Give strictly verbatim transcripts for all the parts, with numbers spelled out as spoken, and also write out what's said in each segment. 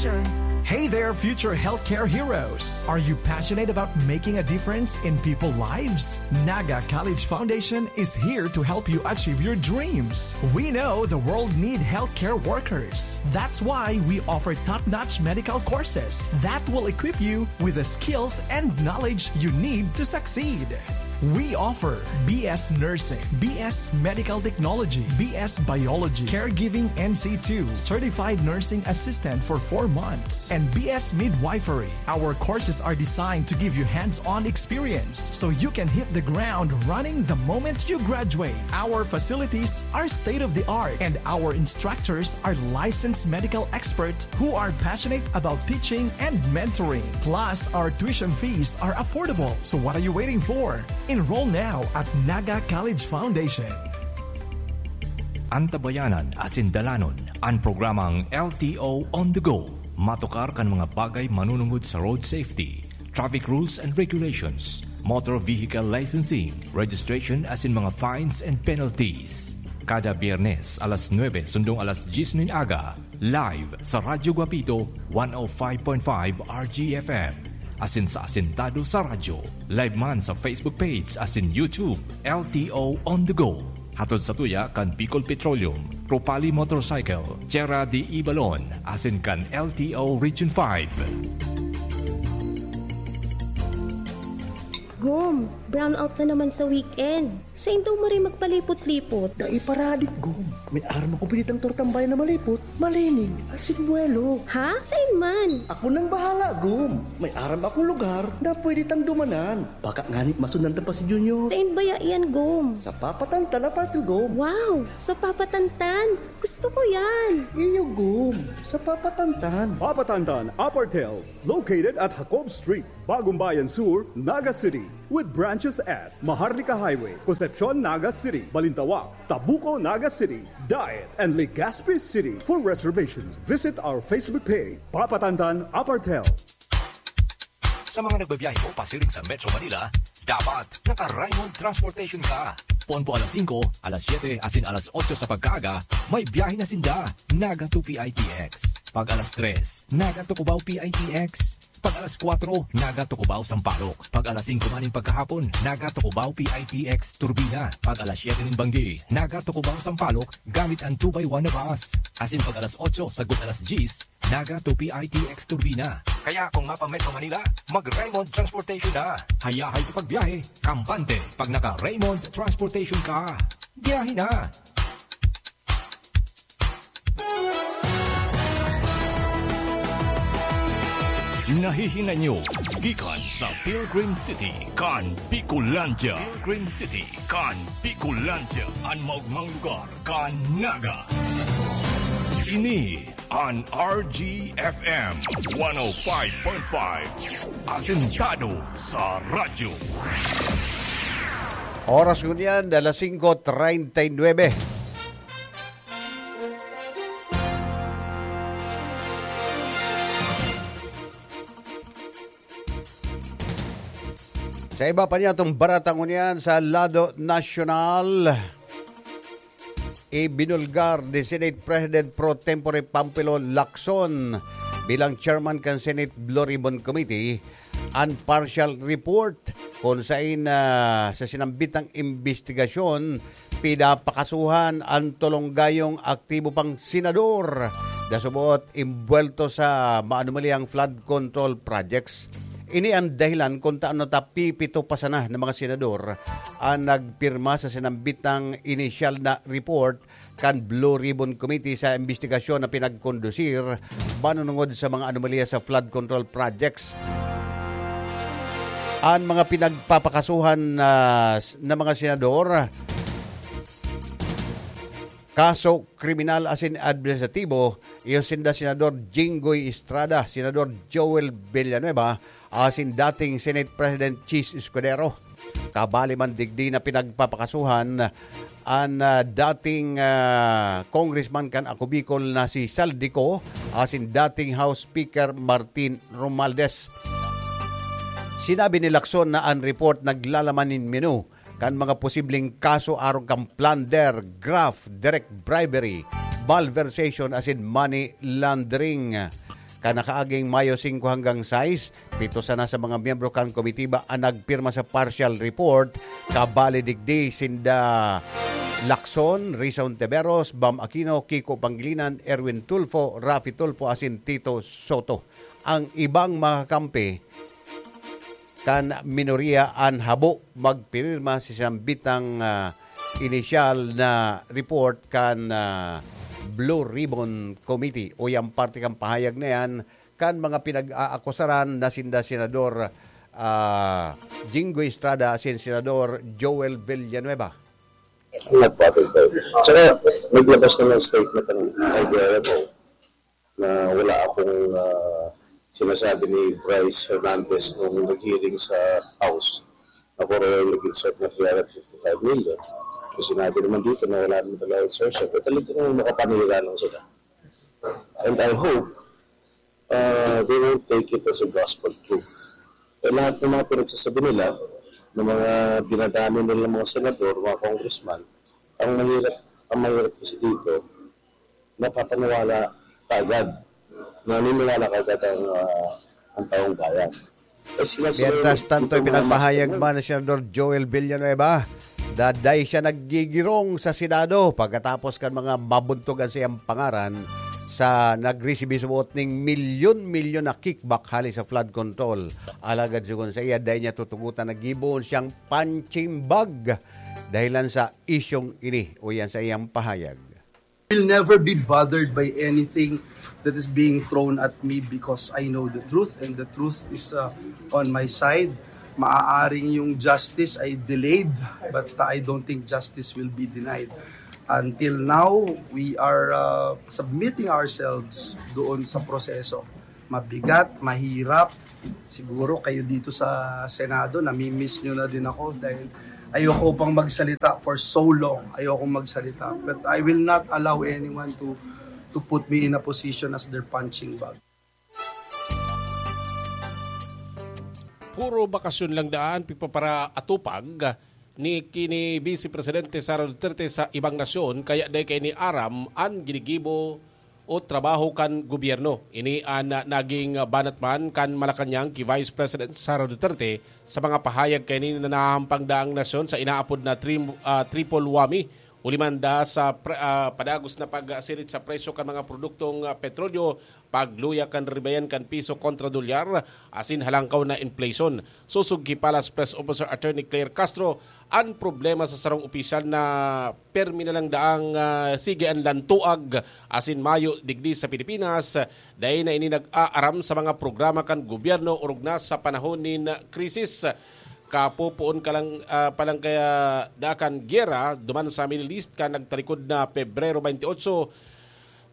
Hey there, future healthcare heroes! Are you passionate about making a difference in people's lives? Naga College Foundation is here to help you achieve your dreams. We know the world need healthcare workers. That's why we offer top-notch medical courses that will equip you with the skills and knowledge you need to succeed. We offer B S Nursing, B S Medical Technology, B S Biology, Caregiving N C two, Certified Nursing Assistant for four months, and B S Midwifery. Our courses are designed to give you hands-on experience so you can hit the ground running the moment you graduate. Our facilities are state-of-the-art, and our instructors are licensed medical experts who are passionate about teaching and mentoring. Plus, our tuition fees are affordable. So what are you waiting for? Enroll now at Naga College Foundation. Antabayanan asin dalanon an programang L T O on the go. Matukar kan mga bagay manunungod sa road safety, traffic rules and regulations, motor vehicle licensing, registration asin mga fines and penalties. Kada Biyernes, alas nuebe sundong alas dyes nin aga, live sa Radyo Guapito, one oh five point five R G F M. Asin sa Asintado sa Radyo. Live man sa Facebook page asin YouTube, L T O On The Go. Hatod sa tuya kan Bicol Petroleum, Ropali Motorcycle, Tierra de Ibalon, asin kan L T O Region five. Gum, brownout na naman sa weekend. Sain daw maray magpalipot-lipot? Dai paradik, Gum. May aram ako pinitang tortang bayan na malipot, malinig, asin buwelo. Ha? Sain man? Ako nang bahala, Gum. May aram akong lugar na pwede tang dumanan. Baka ngani masundan ta pa si Junior. Sain baya iyan, Gum? Sa Papa Tantan Apartel, Gum. Wow! Sa Papa Tantan? Gusto ko yan! Iyo, Gum. Sa Papa Tantan. Papa Tantan Apartel, located at Jacob Street, Bagong Bayan Sur, Naga City, with branches at Maharlika Highway, Concepcion, Naga City, Balintawak, Tabuco, Naga City, Daet, and Legazpi City. For reservations, visit our Facebook page, Papa Tantan Apartel. Sa mga nagbabiyahe po pasiring sa Metro Manila, dapat naka-Raymond Transportation ka. Pon po alas singko, alas siyete, asin alas otso sa pagkaaga, may biyahe na sinda. Naga to P I T X. Pag alas tres, Naga to Cubao P I T X. Pag alas kwatro, Naga to Cubao Sampaloc. Pag alas singko man nin pagkahapon, Naga to Cubao P I T X Turbina. Pag alas siyete nin banggi, Naga to Cubao Sampaloc gamit an two by one na bus. Asin pag alas otso sagkod alas dyes, Naga to P I T X Turbina. Kaya kung mapa-Metro Manila, mag-Raymond Transportation na. Hayahay sa pagbiyahe, kampante pag naka-Raymond Transportation ka. Biyahe na! Nahihinay nyo gikan sa Pilgrim City kan Bicolandia. Pilgrim City kan Bicolandia, an maogmang lugar kan Naga. Ini an R G F M one oh five point five, asentado sa radyo. Oras ngunyan, alas singko treinta y nueve. Sa iba pa niyatong barata ngunyan sa lado nasyonal, ibinulgar ni Senate President Pro Tempore Panfilo Lacson bilang chairman kan Senate Blue Ribbon Committee an partial report kun sain, ah, sa sinambitang imbestigasyon, pinapakasuhan an tolong gayong aktibo pang senador na suboot imbuwelto sa maanomaliyang flood control projects. Ini an dahilan kun tano ta pipito pa sana na mga senador an nagpirma sa sinambitang inisyal na report kan Blue Ribbon Committee sa imbestigasyon na pinagkondusir manunungod sa mga anomalya sa flood control projects. An mga pinagpapakasuhan na, na mga senador, kaso kriminal asin administratibo, iyo sinda Senador Jinggoy Estrada, Senador Joel Villanueva, asin dating Senate President Chiz Escudero. Kabali man digdi na pinagpapakasuhan an, ah, dating, ah, congressman kan Ako Bicol na si Zaldy Co asin dating House Speaker Martin Romualdez. Sinabi ni Lacson na an report naglalaman nin menu kan mga posibleng kaso arog kan plunder, graft, direct bribery, malversation asin money laundering. Kan nakaaging Mayo singko hanggang sais, pito sana sa mga miyembro kan komitiba an nagpirma sa partial report, kabali digdi sinda Lacson, Risa Ontiveros, Bam Aquino, Kiko Pangilinan, Erwin Tulfo, Raffy Tulfo asin Tito Soto. Ang ibang mga kakampi kan minoriya an habo magpirma sa sinambitang, ah, inisyal na report kan, ah, Blue Ribbon Committee. Uya an parte kan pahayag na yan kan mga pinag-aakusaran na sinda Senador, ah, Jinggoy Estrada asin Senador Joel Villanueva. Nagpatid tayo. Tsaka, naglabas na ng statement ang I D R M O na wala akong, ah, sinasabi ni Bryce Hernandez nung nag-hearing sa House na puro nag-insert na three hundred fifty-five million. Yung sinabi naman dito na wala naman talaga extortion. Pero talagang makapanira lang sila. And I hope, ah, they won't take it as a gospel truth. Eh, lahat ng mga pinagsasabi nila, ng mga dinadami nilang mga senador, mga congressman, ang mahirap, ang mahirap kasi dito, napapaniwala kaagad. Naniniwala kaagad ang, ah, ang taong bayan. Eh, sila, sila Mientras tanto, itong mga ipinagpahayag mastermind. Man ni Senador Joel Villanueva, daday siya naggigirong sa Senado pagkatapos kan mga mabuntog an siyang pangaran sa nagresibi subot ning milyon-milyon na kickback hali sa flood control. Alagad sugon sa iya, dai niya tutugotan na gibohon siyang punching bag dahilan sa isyong ini, uyan sa iyang pahayag. Will never be bothered by anything that is being thrown at me because I know the truth and the truth is, uh, on my side. Maaaring yung justice ay delayed, but I don't think justice will be denied. Until now, we are, uh, submitting ourselves doon sa proseso. Mabigat, mahirap. Siguro kayo dito sa Senado, namimiss nyo na din ako dahil ayoko pang magsalita for so long. Ayoko magsalita. But I will not allow anyone to to put me in a position as their punching bag. Puro bakasyon lang daan pipaparaatupag ni kini Vice Presidente Sara Duterte sa ibang nasyon, kaya dai kaini aram an ginigibo o trabaho kan gobyerno. Ini an, ah, naging, ah, banat man kan Malacañang ki Vice President Sara Duterte sa mga pahayag kaini na nahahampang daang nasyon sa inaapod na trim-, ah, triple whammy. Huli man da sa pre-, ah, padagos na pagsirit sa presyo kan mga produktong, ah, petrolyo, pagluya kan ribayan kan piso kontra dolyar, asin halangkaw na inflation. Sosog ki Palace Press Officer Attorney Claire Castro, an problema sa sarong opisyal na permi na lang daang, ah, sige an lantuag asin mayo digdi sa Pilipinas, dai na ini nag-aaram sa mga programa kan gobyerno orog na sa panahon nin krisis. Kapopoon ka lang, ah, pa lang kaya da kan giyera duman sa Middle East kan nagtalikod na Pebrero twenty-eight,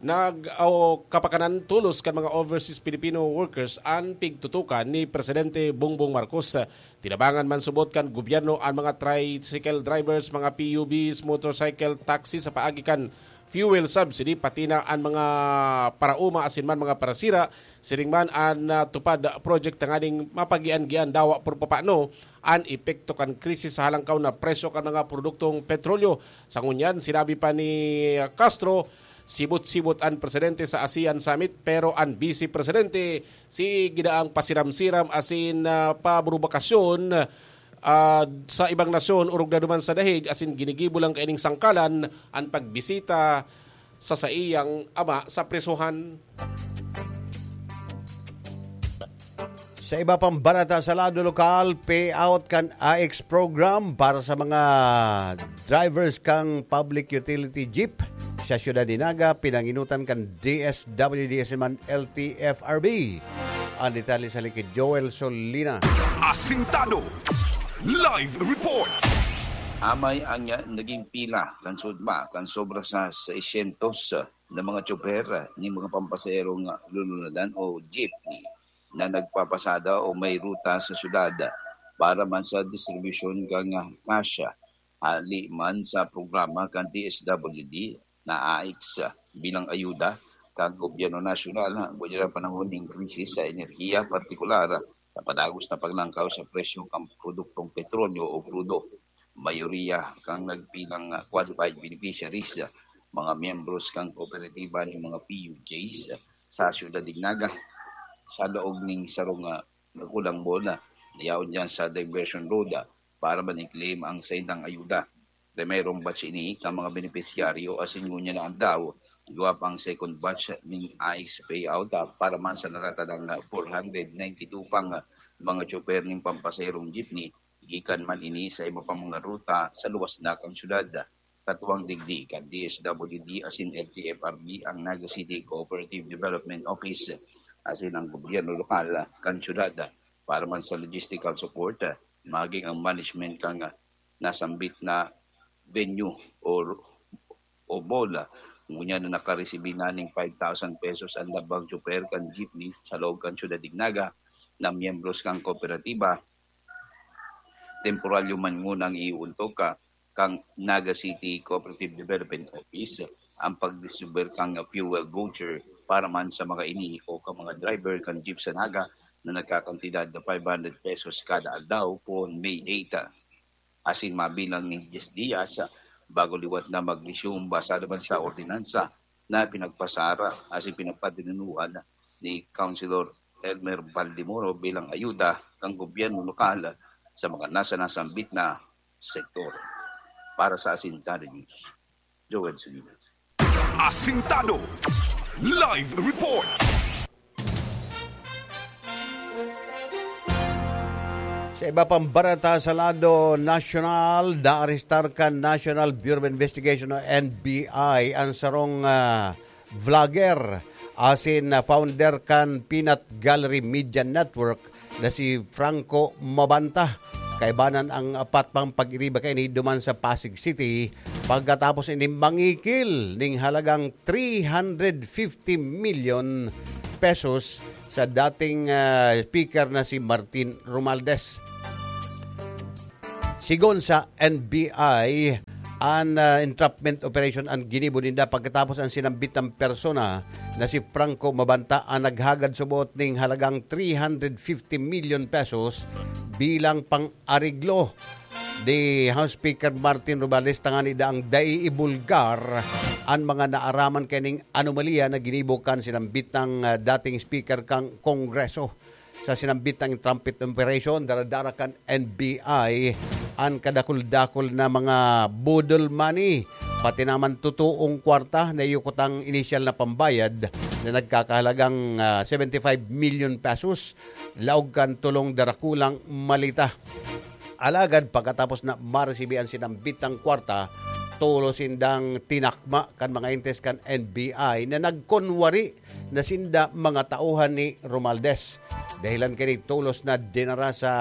nag-, o kapakanan tolos kan mga overseas Filipino workers an pigtutukan ni Presidente Bongbong Marcos. Tinabangan man subot kan gobyerno an mga tricycle drivers, mga P U Vs, motorcycle taxi sa paagi kan fuel subsidy, pati na an mga paraoma asin man mga parasira, siring man an, ah, TUPAD project tanganing mapagian-gian dawa por papano an epekto kan krisis sa halangkaw na presyo kan mga produktong petrolyo. Sa ngunyan, sinabi pa ni Castro, sibot-sibot an presidente sa ASEAN Summit, pero an vice presidente, sige daang pasiram-siram asin, ah, pabrubakasyon, ah, sa ibang nasyon, orog na duman sa dahig, asin ginigibo lang kaining sangkalan an pagbisita sa saiyang ama sa prisohan. Sa iba pang balita sa lado lokal, payout kan A X program para sa mga drivers kan public utility jeep sa siyudad ni Naga, pinanginutan kan D S W D S man L T F R B. An detalye sa likid Joel Solina. Asintado. Live report. Amay ang naging pila kan sudma kan sobra sa seiscientos na mga tsoper nin mga pampasaherong lulunadan o jeepney na nagpapasada o may ruta sa syudad para man sa distribusyon kan cash, hali man sa programa kan D S W D na A X bilang ayuda kan gobyerno nasyonal, ngunyan panahon nin krisis sa enerhiya, partikular sa padagos na paglangkaw sa presyo kan produktong petrolyo o krudo. Mayoriya kan nagpilang qualified beneficiaries, mga miyembros kan kooperatiba nin mga P U Js sa siyudad nin Naga, sa laog ning sarong, ah, dakulang mall na yaon diyan sa Diversion Road, ah, para man i-claim ang saindang ayuda. Primerong batch ini kan mga benepisyaryo asin ngunyan na aldaw, liwat pa ang second batch ning ICE payout, ah, para man sa natatadang, ah, four hundred ninety-two pang, ah, mga tsoper ning pampasaherong jeepney. Gikan man ini sa iba pang mga ruta sa luwas na kan syudad. Katuwang digdi kan D S W D asin L T F R B ang Naga City Cooperative Development Office asin ang gobyerno lokal kan syudad para man sa logistical support, maging ang management kan nasambit na venue o, o mall. Ngunyan na nakaresibi na ning five thousand pesos ang labang tsoper kan jeepney sa laog kan syudad nin Naga na miyembros kan kooperatiba. Temporaryo man ngunang iuntog ka kan Naga City Cooperative Development Office ang pagdistribuir kan fuel voucher para man sa mga ini o kan mga driver kan jeep sa Naga na nagkakantidad na five hundred pesos kada aldaw poon May eight. Asin mabilang nin diyes diyas bago liwat na mag-resume basado man sa ordinansa na pinagpasara asin pinagpadinunuhan ni Councilor Elmer Baldemoro bilang ayuda kan gobyerno lokal sa mga nasa nasambit na sektor. Para sa Asintado News, Joel Sulinas. Asintado Live Report. Sa iba pang bareta sa lado nasyonal, naarestar kan National Bureau of Investigation o N B I ang sarong, ah, vlogger asin, ah, founder kan Peanut Gallery Media Network na si Franco Mabanta. Kaibanan ang apat pang pag-iriba kaini duman sa Pasig City pagkatapos ini mangikil ning halagang three hundred fifty million pesos sa dating, ah, speaker na si Martin Romualdez. Sigon sa N B I, an, ah, entrapment operation an ginibo ninda pagkatapos an sinambit na persona na si Franco Mabanta an naghagad subot ning halagang three hundred fifty million pesos bilang pang-areglo ni House Speaker Martin Romualdez tangani daang dai ibulgar an mga naaraman kaining anomalya na ginibo kan sinambit na, ah, dating speaker kan Kongreso. Sa sinambit na entrapment operation, daradara kan N B I an kadakul-dakul na mga boodle money, pati naman totoong kwarta na iyo kutang inisyal na pambayad na nagkakahalagang, ah, seventy-five million pesos, laog kan tolong darakulang maleta. Alagad pagkatapos na maresibi an sinambit na kwarta, tolos sindang tinakma kan mga entes kan N B I na nagkunwari na sinda mga tauhan ni Romualdez. Dahilan kaini, tolos na dinara sa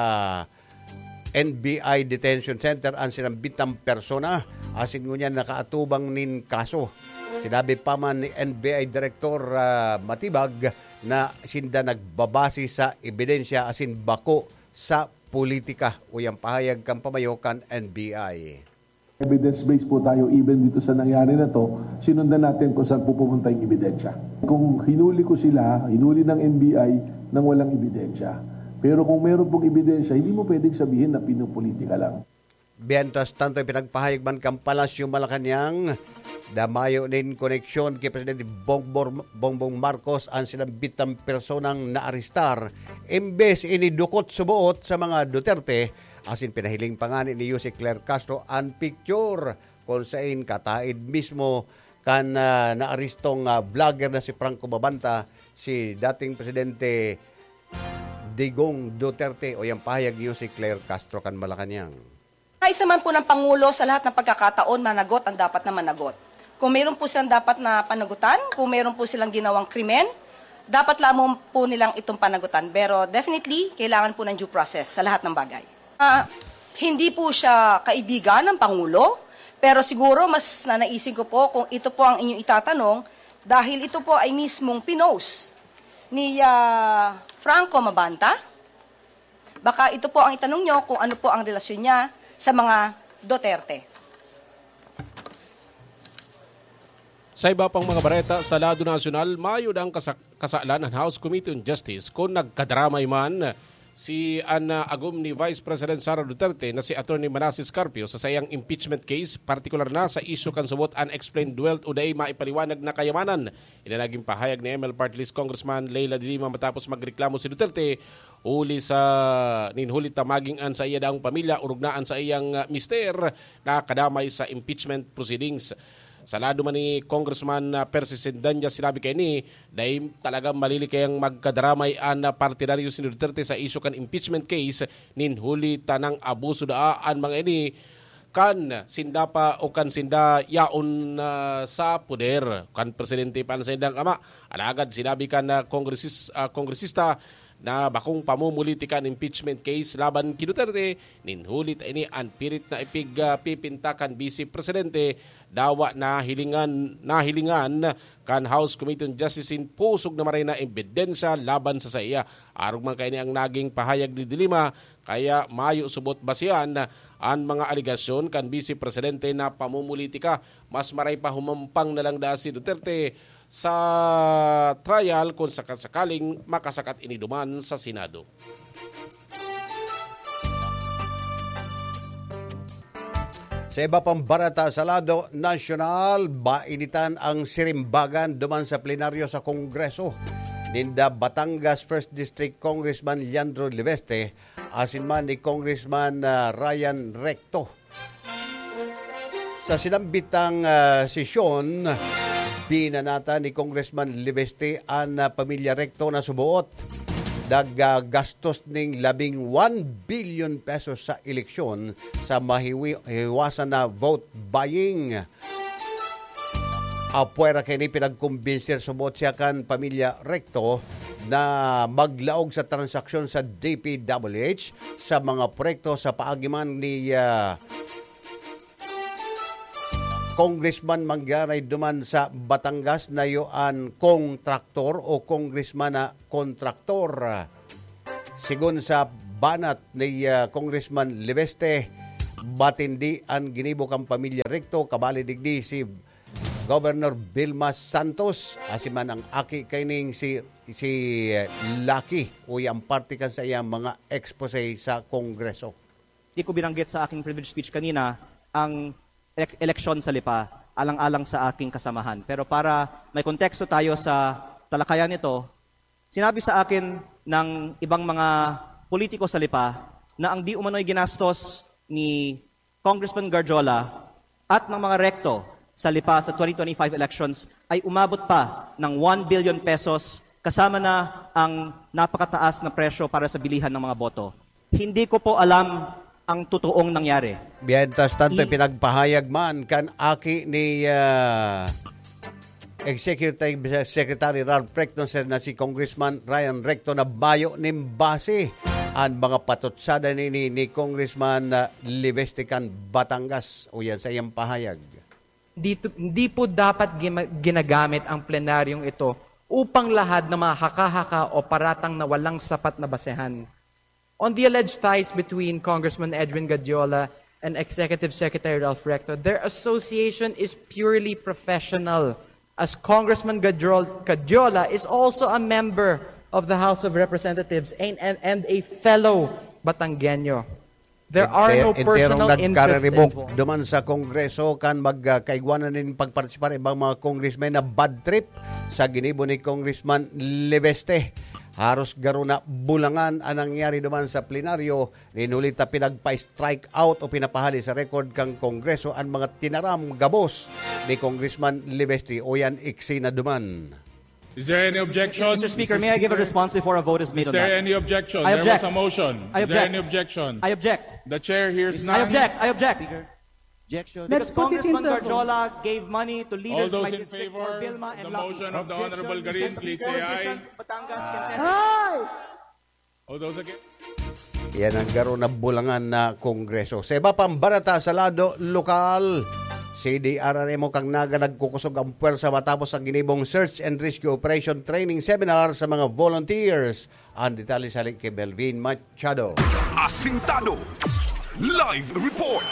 N B I Detention Center an sinambit na persona asin ngunyan nakaatubang nin kaso. Sinabi pa man ni N B I Director, ah, Matibag na sinda nagbabase sa ebidensya asin bako sa politika. Uya an pahayag kan pamayo kan N B I. Evidence-based po tayo even dito sa nangyari na 'to. Sinundan natin kung saan po pumunta yung ebidensya. Kung hinuli ko sila, hinuli ng N B I nang walang ebidensya. Pero kung meron pong ebidensya, hindi mo pwedeng sabihin na pinopolitika lang. Mientras tanto, ipinagpahayag man kan Palasyo Malacañang na mayo nin koneksyon ki Presidente Bongbor-, Bongbong Marcos an sinambit na personang naarestar, imbes ini dukot suboot sa mga Duterte, asin pinahiling pa ngani ni Jose Claire Castro an picture kun sain kataed mismo kan, ah, naarestong, ah, vlogger na si Franco Mabanta, si dating Presidente Digong Duterte. Uya an pahayag ni Jose Claire Castro kan Malacañang. Nais naman po ng Pangulo sa lahat ng pagkakataon managot ang dapat na managot. Kung mayroon po silang dapat na panagutan, kung mayroon po silang ginawang krimen, dapat lamang po nilang itong panagutan. Pero definitely, kailangan po ng due process sa lahat ng bagay. Ah, hindi po siya kaibigan ng Pangulo, pero siguro mas nanaisin ko po kung ito po ang inyong itatanong dahil ito po ay mismong pinost ni, ah, Franco Mabanta. Baka ito po ang itanong nyo kung ano po ang relasyon niya sa mga Duterte. Sa iba pang mga bareta sa lado nasyonal, mayo daang kasak-, kasalan an House Committee on Justice kun nagkadaramay man Si an, ah, agom ni Vice President Sara Duterte na si Attorney Manasseh Carpio sa saiyang impeachment case, partikular na sa isyu kan subot unexplained wealth o dai maipaliwanag na kayamanan. Ini naging pahayag ni M L Party List Congressman Leila de Lima matapos magreklamo si Duterte huli sa, nin huli ta maging an sa iya daang pamilya, orog na an sa iyang, ah, mister na kadamay sa impeachment proceedings. Sa lado man ni Congressman, ah, Percy Sendanya, sinabi kaini, dai talaga malilikayang magkadaramay an, ah, partidaryo si Duterte sa isyu kan impeachment case nin huli ta nang abuso daa an mga ini kan sinda pa o kan sinda yaon na sa poder, kan presidente pa an saindang ama. Alagad sinabi kan, ah, kongresis-, ah, kongresista na bakong pamumulitika an impeachment case laban ki Duterte, nin huli ta ini an pirit na ipig, ah, pipinta kan Vice Presidente, dawa nahilingan, nahilingan kan House Committee on Justice nin pusog na maray na ebidensya laban sa saiya. Arog man kaini ang naging pahayag ni De Lima, kaya mayo subot basehan an mga alegasyon kan Vice Presidente na pamumulitika. Mas maray pa humampang na lang daa si Duterte sa trial kung sakasakaling makasakat ini duman sa Senado. Sa iba pang barata sa lado nasyonal, bainitan ang sirimbagan duman sa plenaryo sa Kongreso ninda Batangas First District Congressman Leandro Leveste asin man ni Congressman, ah, Ryan Recto. Sa sinambitang, ah, sesyon, binanatan ni Congressman Leveste an, ah, pamilya Recto na suboot naggastos ning labing one billion pesos sa eleksyon sa mahiwi-, hiwasan na vote buying. Apwera kaini, pinagkumbinsir subot siya kan pamilya Recto na maglaog sa transaksyon sa D P W H sa mga proyekto sa paagi man ni, ah, Congressman Manggaray duman sa Batangas, nayo an kontraktor o congressman na kontraktor. Sigon sa banat ni, ah, Congressman Leveste, matindi an ginibo kan pamilya Recto, kabali digdi si Governor Vilma Santos, asin man ang aki kaining si, si, eh, Lucky, uya ang parte kan saiyang mga expose sa Kongreso. Di ko binanggit sa aking privilege speech kanina ang elek-, eleksyon sa Lipa, alang-alang sa aking kasamahan. Pero para may konteksto tayo sa talakayan nito, sinabi sa akin ng ibang mga politiko sa Lipa na ang di umano'y ginastos ni Congressman Garjola at ng mga Recto sa Lipa sa twenty twenty-five elections ay umabot pa ng one billion pesos, kasama na ang napakataas na presyo para sa bilihan ng mga boto. Hindi ko po alam ang totoong nangyari. Mientras tanto, I- pinagpahayag man kan aki ni, ah, Executive Secretary Ralph Recto na si Congressman Ryan Recto na bayo nin base an mga patutsada ni, ni, ni Congressman, ah, Leveste kan Batangas. Uyan sa iyang pahayag. Dito, hindi po dapat gima-, ginagamit ang plenaryong ito upang lahad na mga haka-haka o paratang na walang sapat na basehan. On the alleged ties between Congressman Edwin Gadiola and Executive Secretary Ralph Recto, their association is purely professional, as Congressman Gadrol-, Gadiola is also a member of the House of Representatives and, and, and a fellow Batanggenyo. There are no Enter-, enterong personal interests nagkariribok involved. Duman sa Kongreso kan mag, ah, kaigwanan nin pagpartisipar ibang mga congressmen na bad trip sa ginibo ni Congressman Leveste. Haros garo na bulangan an nangyari duman sa plenaryo, nin huli ta pinagpa-strike out o pinapahali sa record kan Kongreso an mga tinaram gabos ni Congressman Leveste. Uyan, iksi na duman. Is there any objection? Mister Speaker, may I give a response before a vote is made on that? Is there any objection? I object. There was a motion. I object. Is there any objection? I object. The chair hears none. I object. I object. Speaker, objection. Let's put it into a vote. Because Congressman Garjola gave money to leaders of my district for Vilma and Lucky. All those in favor of the motion of the Honorable Garin, please say aye. Objection, Mister Speaker. Politicians of Batangas can testify. Aye! All those against? Yan ang garo na bulangan na Kongreso. Sa iba pang barata sa lado lokal, C D R R M o Cagnaga nagkukusog ang pwersa matapos ang ginibong search and rescue operation training seminar sa mga volunteers. Ang detalye sa link kay Melvin Machado. Asintado. Live report.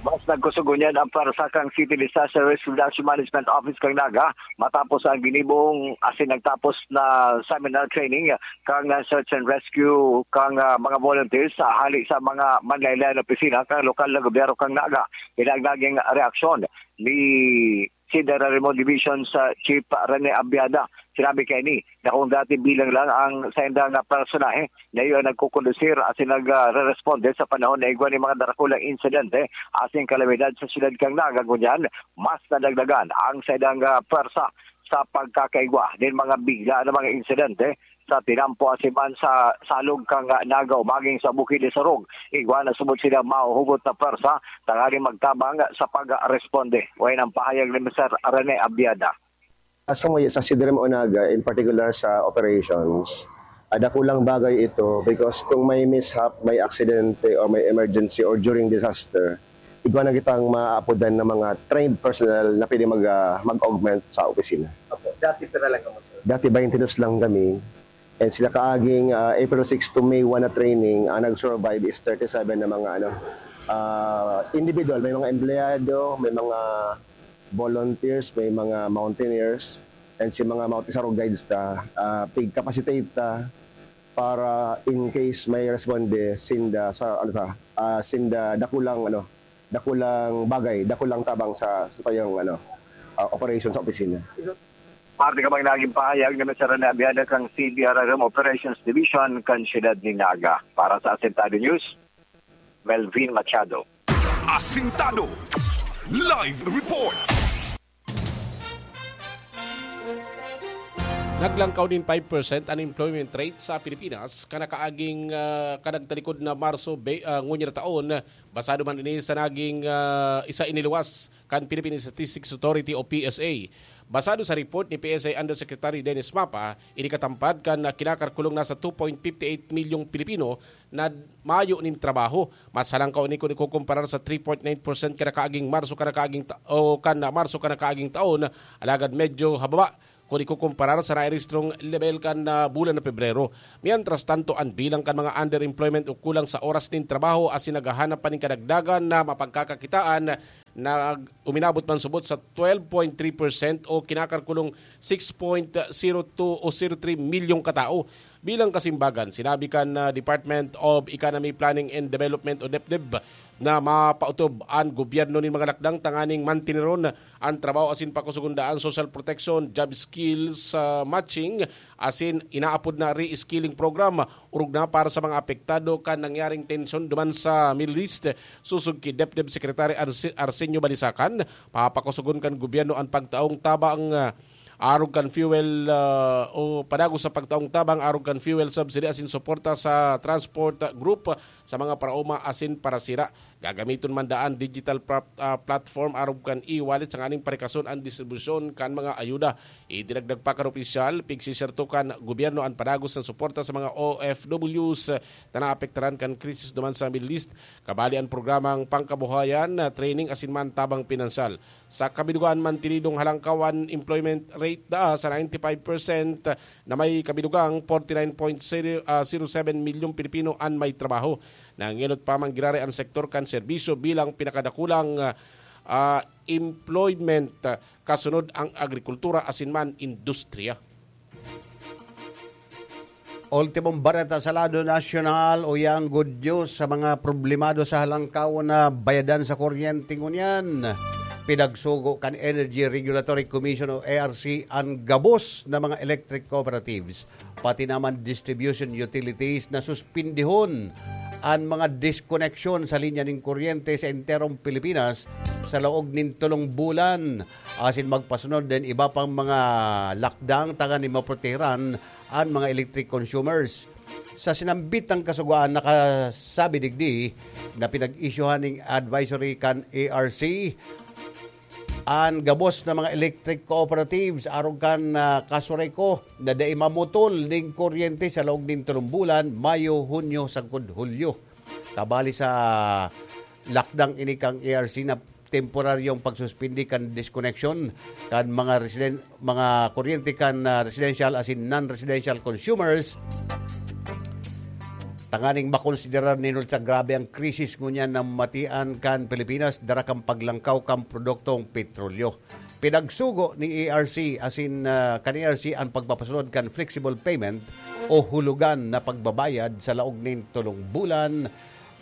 Mas nagkusog ngunyan ang pwersa kan City Disaster Risk Reduction Management Office kan Naga matapos ang ginibong asin nagtapos na seminar training kan Search and Rescue kan, ah, mga volunteers sa hali sa mga manlaen-laen na opisina kan lokal na gobyerno kan Naga. Ini ang naging reaksyon ni City Railroad Division sa Chief Rene Abiada. Sinabi kaini na kung dati bilang lang ang saindang personahe na iyo ang nagkukondusir asin nagre-responde sa panahon na igwa nin mga darakulang insidente asin kalamidad sa siyudad kan Naga, ngunyan mas nadagdagan ang saindang, ah, pwersa sa pagkakaigwa nin mga bigla na mga insidente sa tinampo asin man sa salog kan Naga o maging sa Bukid de Sorog. Igwa na subot sila mahuhugot na pwersa tanganing magtabang sa pagresponde. Wayan ang pahayag ni Mister Rene Abiada. Sa mga sa Sidrem o Naga, in particular sa operations, ah, dakulang bagay ito because kung may mishap, may aksidente, or may emergency, or during disaster, igwa na kitang maaapodan ng mga trained personnel na pwede mag, ah, mag-augment sa opisina. Opo, dati pira lang kamo, sir? Dati twenty-two lang kami. And sila kaaging ah, April six to May one na training, ang nag-survive is thirty-seven na mga ano, ah, individual. May mga empleyado, may mga volunteers, may mga mountaineers, and si mga Mount Isaro guides ta, ah, pig-capacitate ta para in case may responde sinda sa ano ta, ah, sinda dakulang ano, dakulang bagay, dakulang tabang sa sa tayong ano, ah, operation sa opisina. Parte ka bang naging pahayag na nasara na abiyada kang C D R R M Operations Division kan siyudad ni Naga. Para sa Asentado News, Melvin Machado. Asintado Live Report. Naglangkaw nin five percent unemployment rate sa Pilipinas kanakaaging uh, kanagtalikod na Marso be, uh, ngunyan na taon. Basado man ini sa naging uh, isa iniluwas kan Philippine Statistics Authority o P S A. Basado sa report ni P S A Undersecretary Dennis Mapa, ini katampad kan uh, kinakarkulong nasa two point fifty eight milyong Pilipino na mayo nin trabaho. Mas halangkaw ini kun ikukumparar sa three point nine percent kanakaaging Marso kanakaaging ta- o kan Marso kanakaaging taon, alagad medyo hababa kun ikukumparar sa nairehistrong lebel kan ah, bulan na Pebrero. Mientras tanto, an bilang kan mga underemployment o kulang sa oras nin trabaho asin naghahanap pa nin kadagdagan na mapagkakakitaan na uminabot man subot sa twelve point three percent o kinakarkulong six point zero two o zero three milyong katao. Bilang kasimbagan, sinabi kan ah, Department of Economy, Planning and Development o DepDev na mapautob an gobyerno nin mga lakdang tanganing mantineron an trabaho asin pakusugon daa an social protection, job skills ah, matching asin inaapod na re-skilling program, orog na para sa mga apektado kan nangyaring tensyon duman sa Middle East. Sosog ki DepDev Secretary Arse- Arsenio Balisacan, papakusugon kan gobyerno an pagtaong tabang ah, arog kan fuel ah, o padagos sa pagtaong tabang arog kan fuel subsidy asin suporta sa transport group sa mga paraoma asin parasira. Gagamiton man daa an digital pra- ah, platform arog kan e-wallet sa nganing parikason an distribusyon kan mga ayuda. Idinagdag pa kan opisyal, pigsiserto kan gobyerno an padagos na suporta sa mga O F Ws na naapektaran kan krisis duman sa Middle East. Kabali an programang pangkabuhayan, training asin man tabang pinansyal. Sa kabilugan, mantinidong halangkaw an employment rate daa sa ninety-five percent na may kabilugang forty-nine point zero seven milyong Pilipino an may trabaho. Nangenot pa man giraray an sektor kan serbisyo bilang pinakadakulang ah, employment, kasunod ang agrikultura asin man industriya. Ultimong bareta sa lado nasyonal, uyang good news sa mga problemado sa halangkaw na bayadan sa kuryente ngunyan. Pinagsugo kan Energy Regulatory Commission o E R C an gabos na mga electric cooperatives, pati naman distribution utilities na suspindihon an mga diskoneksyon sa linya nin kuryente sa enterong Pilipinas sa laog nin tolong bulan, asin magpasunod nin iba pang mga lakdang tanganing maprotehiran an mga electric consumers. Sa sinambit na kasugoan, nakasabi digdi na pinag-isyuhan nin advisory kan E R C an gabos na mga electric cooperatives arog kan ah, Kasureko na dai mamutol nin kuryente sa laog nin tolong bulan, Mayo, Hunyo, sagkod Hulyo. Kabali sa lakdang ini kan E R C na temporaryong pagsuspindi kan disconnection kan mga residen-, mga kuryente kan ah, residential asin non-residential consumers, Tanganing makonsiderar nin sa grabe ang krisis ngunyan na matian kan Pilipinas, dara kan paglangkaw kan produktong petrolyo. Pinagsugo ni A R C asin, ah, kan A R C ang pagpapasunod kan flexible payment o hulugan na pagbabayad sa laog nin tolong bulan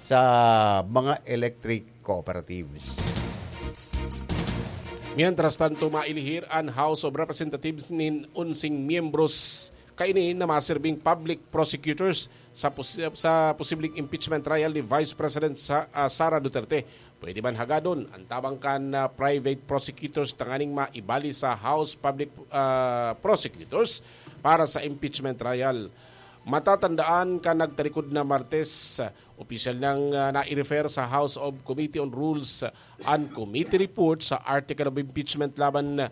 sa mga electric cooperatives. Mientras tanto, mailihir an House of Representatives nin onseng miyembros kaini na masirbing public prosecutors sa pos-, sa posibleng impeachment trial ni Vice President sa, ah, Sara Duterte. Pwede man hagadon ang tabang kan, ah, private prosecutors tanganing maibali sa House public, ah, prosecutors para sa impeachment trial. Matatandaan kan nagtarikod na Martes, ah, opisyal nang, ah, nai-refer sa House of Committee on Rules an committee report sa article of impeachment laban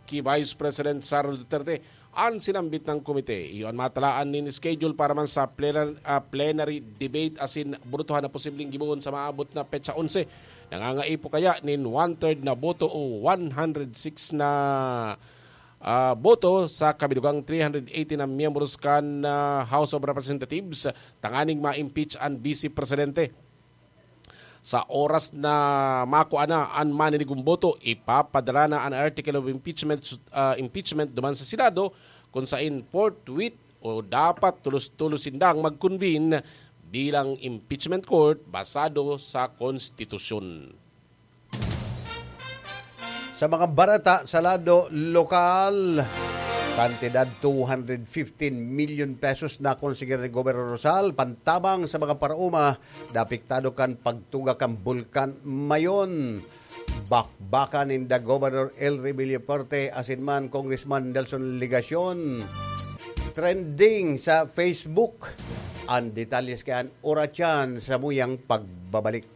ki Vice President Sara Duterte. An sinambit na komite, iyo an matalaan nin schedule para man sa plenar-, ah, plenary debate asin botohan na posibleng gibohon sa maabot na petsa onse. Nangangaipo kaya nin one-third na boto o one hundred six na, ah, boto sa kabilugang three hundred eighty na miyembros kan, ah, House of Representatives tanganing ma-impeach an Vice Presidente. Sa oras na makua na an maninigong boto, ipapadara na an article of impeachment, ah, impeachment duman sa Senado, kun saen forthwith o dapat tolos-tolos sindang mag-convene bilang impeachment court basado sa konstitusyon. Sa mga bareta sa lado lokal, kantidad two hundred fifteen million pesos na konsider ni Gobernador Rosal pantabang sa mga paraoma na apektado kan pagtuga kan Bulkan Mayon. Bakbakan ninda Gobernador Elry Villafuerte asin man Congressman Nelson Legacion. Trending sa Facebook. Ang detalye sa kaiyan, oras yan sa muyang pagbabalik.